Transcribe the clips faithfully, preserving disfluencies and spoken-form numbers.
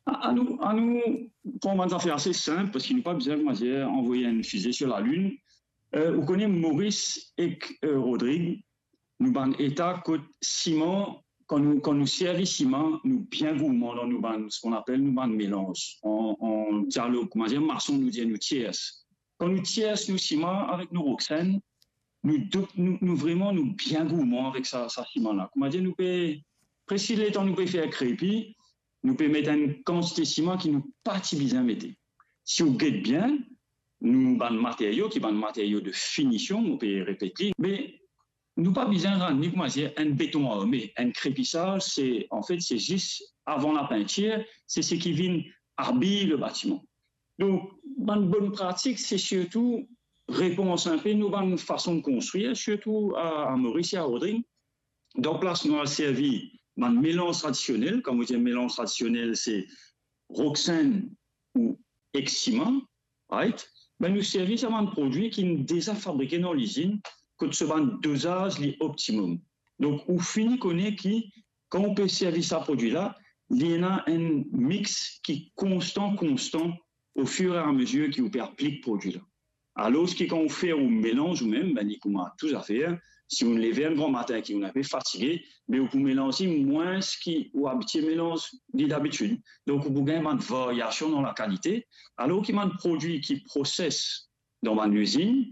Anou, anou pran bann zafer ase sinp, parski nou pa bizin, koumadir, anvoy enn fize sir lalinn. Eh, ou kone, Maurice ek, eh, Rodrigue, nou bann eta kot siman, kan nou, kan nou servi siman, nou bien gourman dan nou bann, seki nou apel nou bann melanz. An, an dialog, koumadir, mason, nou dir nou tiers. Kan nou tiers nou siman avek nou roksenn, nou, dou-, nou, nou vreman, nou bien gourman avek sa, sa siman la. Koumadir, nou pe, preski letan nou pe fer krepi, nou pe met enn kantite siman ki nou pa ti bizin mete. Si ou get bien, nou bann materio, ki bann materio de finision, mo pe repet li, me nou pa bizin rann li, koumadir, enn beton arme. Enn krepisaz, se, anfet, se zis avan lapintir, se seki vinn abiy le batiman. Donk, bann bonn pratik, se sirtou repans enpe nou bann fason konstrir, sirtou a, a Maurice e a Rodrigue. Dan plas nou al servi bann melanz tradisionel, kan mo dir melanz tradisionel, se roksenn ou ek siman, right? Be nou servi sa bann prodwi ki deza fabrike dan lizinn, kot so bann dozaz li optimom. Donk, ou fini kone ki, kan ou pe servi sa prodwi la, li ena enn mix ki konstan, konstan, ofiramezie ki ou pe aplik prodwi la. Alor ki kan ou fer ou melanz ou mem, be li kouma tou zafer, si ou leve enn gran matin ki ou enpe fatige, be ou pou melanz li mwins ki ou abitie melanz li dabitid. Donk, ou pou gagn bann varyasion dan lakalite, alor ki bann prodwi ki proses dan bann lizinn,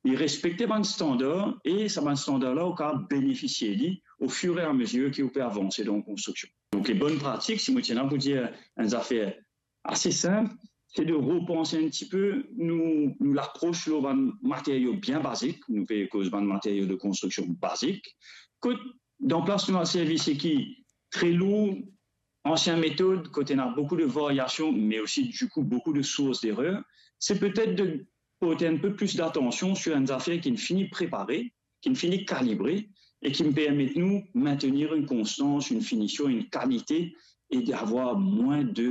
li respekte bann standar e sa bann standar la, ou kapav benefisie li ofiramezie ki ou pe avanse dan konstriksion. Donk, le bonn pratik, si mo ti ena pou dir enn zafer ase sinp, se de repanse enn tipe nou, nou lapros lor bann materio bien bazik, nou pe koz bann materio de konstriksion bazik, kot dan plas nou al servi seki tre lour, ansien metod, kot ena boukou de varyasion, me osi, dikou, boukou de sours derer, se petet de port enn pe plis datansion sir enn zafer ki fini prepare, ki fini kalibre, e ki permet nou maintenir enn konstans, enn finision, enn kalite, e d'avoir mwin de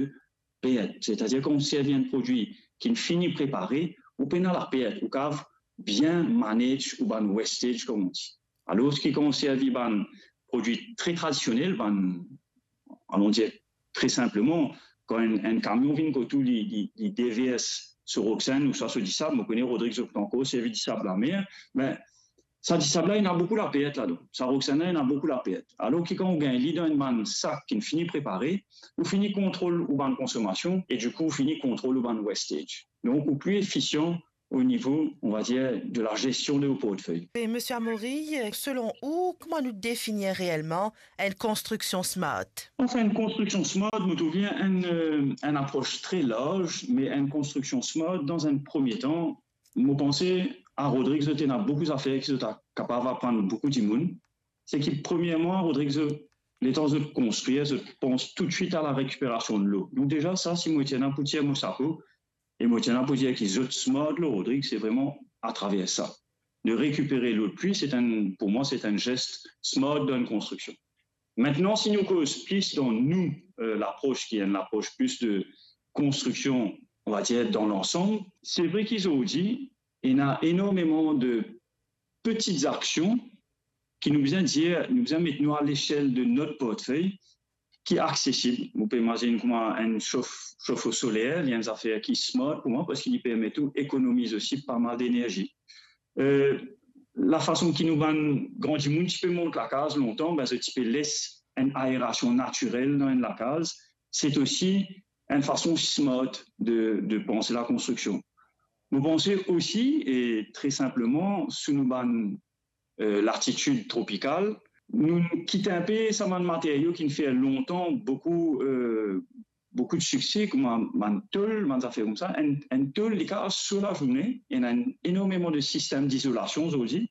pert. Setadir, kan ou servi enn prodwi ki fini prepare, ou pena lapert, ou kapav bien manage ou bann wastage, kouma on dir. Alor ki kan ou servi bann prodwi tre tradisionel, bann, alon dir, tre sinpleman, kan enn, enn kamion vinn kot ou, li, li, li devers so roksenn ouswa so disab, mo kone Rodrigue zot ankor servi disab lamer, me sa disab la, ena boukou lapert ladan. Sa roksenn la, ena boukou lapert. Alor ki kan ou gagn li dan enn bann sak ki fini prepare, ou fini kontrol ou bann konsomasion e dikou, ou fini kontrol ou bann wastage. Donk, ou pli efisian o nivo, on va dir, de la gestion de ou portfey. E Misie Amaury, selon ou, kouma nou definir reelman enn konstriksion smart? Anfin, enn konstriksion smart, mo trouv li enn, eh, enn apros tre larz, me enn konstriksion smart, dan enn premie tan, mo panse a Rodrigue, zot ena boukou zafer ki zot a kapav aprann boukou dimoun. Seki, premierman, Rodrigue, zot, letan zot konstrir, zot pans toutswit a la rekiperasion dlo. Donk deza, sa, si mo ti ena pou tir mo sapo, e mo ti ena pou dir ki zot smart lor Rodrigue, se vreman atraver sa. De rekipere dlo depli, se enn, pou mwa, se enn zes smart dan enn konstriksion. Aster, si nou koz plis dan nou, eh, lapros, ki enn lapros plis de konstriksion, on va dir, dan lansam, se vre ki zordi, ena enormeman de peti aksion ki nou bizin dir, nou bizin met nou a lesel de not portfey ki aksesib. Ou pe imazinn kouma enn sof-, sofo soler, li enn zafer ki smart pou mwa, parski li permet ou ekonomiz osi pa mal denerzi. Eh, lafason ki nou bann gran dimoun ti pe mont lakaz lontan, be, zot ti pe les enn aerasion natirel dan enn lakaz. Se osi enn fason smart de, de panse lakonstriksion. Mo panse osi, e tre sinpleman, sou nou bann, eh, latitid tropikal, nou kit enpe sa bann materio ki fer lontan boukou, eh, boukou de sikse, kouma bann tol, bann zafer koumsa. Enn, enn tol, li kapav so lazourne, ena enn, enormeman de sistem dizolasion zordi,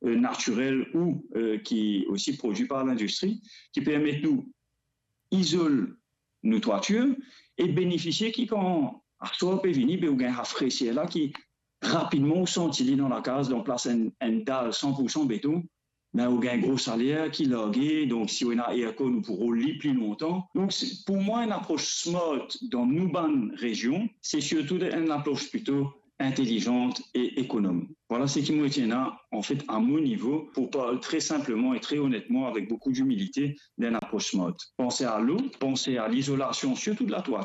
eh, natirel ou, eh, ki osi prodwi par lindistri, ki permet nou izol nou twatir e benefisie ki kan aswar pe vini, be ou gagn rafreser la ki rapidman ou santi li dan lakaz, dan plas enn, enn dal san pou san beton, be ou gagn gro saler ki large, donk si ou ena aircon, ou pou rol li pli lontan. Donk, se, pou mwa, enn apros smart dan nou bann rezion, se sirtou enn apros plito intelizan e ekonom. Vwala seki mo ti ena, anfet, a mo nivo, pou parl tre sinpleman e tre onetman, avek boukou dimilite, de enn apros smart. Panse a dlo, panse a lizolasion, sirtou de latwatir,